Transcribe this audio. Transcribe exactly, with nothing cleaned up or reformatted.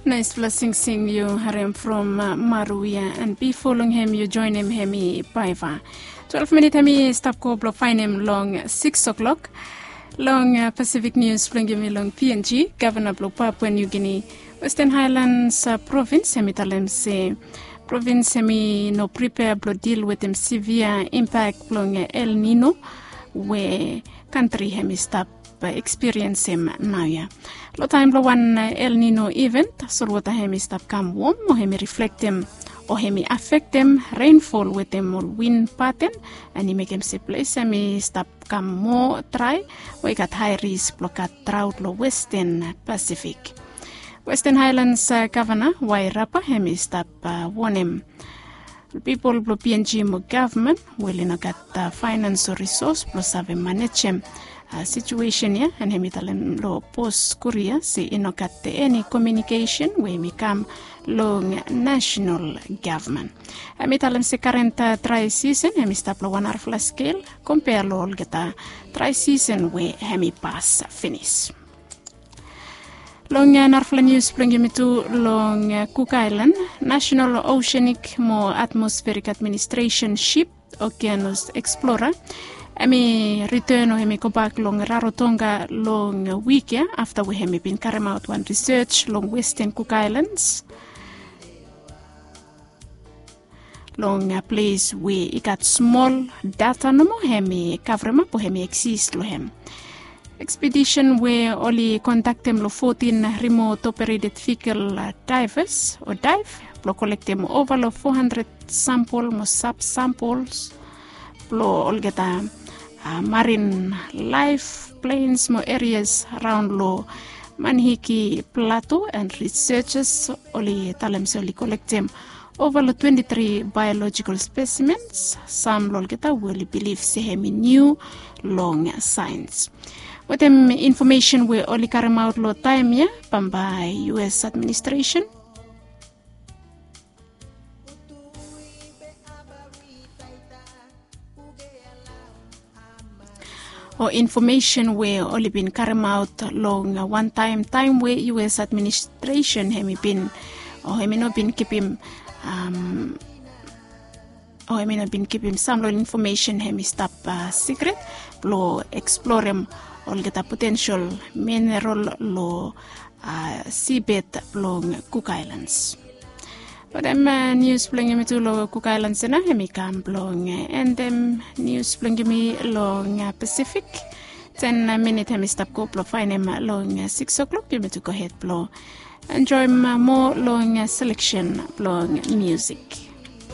Naispela singsing yu harim from maruia, and bifo long hem yu joinim hem i paiva. Twelve minit hem i stap go blong fainem long six o'clock. Long Pacific News blong yumi long PNG, gavana blong Papua New Guinea, Western Highlands provins hem i talem se provins hem i no pripea blong dil wetem severe impact blong El Nino we kantri hem i stap ekspiriensim naoia. Long taem blong wan El Nino event, solwota hem i stap kam wom o hem i riflektem o hem i afektem reinfol wetem ol win paten, and i mekem se ples hem i stap kam moa drae we i gat hae ris blong gat draot long Western Pasifik. Western Highlands gavana Wairapa hem i stap wonem pipol blong PNG mo gavman we oli no gat faenans o risos blong save manejem situesen ya, and hem i talem long pos kuria se i no gat eni komiunikesen we hem i kam long nasenal gavman. Hem i talem se karen drae sisen hem i stap long wan narafala skel kompea long olgeta drae sisen we hem i pas finis. Long narafala nius blong yumi tu long Cook Island, National Oceanic mo Atmospheric Administration ship Okeanos Explorer hem i riten o hem i gobak long Rarotonga long wik ya afta we hem i bin karemaot wan risej long Western Cook Islands. Long ples we i gat smol data nomo hem i kavremap o hem i eksis long hem. Ekspedisen we oli kondaktem long fotin rimot opereted vikel daivas o daiv blong kolektem ova long foa handred sampol mo sab sampols blong olgeta marin laef plens mo erias raon long Manihiki Plato, and risejas oli talem se oli kolektem ova long twenti tri baelojikel spesimens, sam long olgeta we oli bilif se hem i niu long saens. Wetem infomesen we oli karemaot long taem ya, bambae US administresen o infomesen we oli bin karemaot long wantaem taem we US administresen hem i bin o hem i no bin kipim o hem i no bin kipim sam long infomesen hem i stap sikret blong eksplorem olgeta potensel mineral long sibet blong Cook Islands. Wetem nius blong yumi tu long Cook Islands ya nao hem i kam blong endem nius blong yumi long Pasifik. Ten minit hem i stap go blong faenem long six o'clock, yumi tu gohed blong enjoem moa long seleksen blong musik.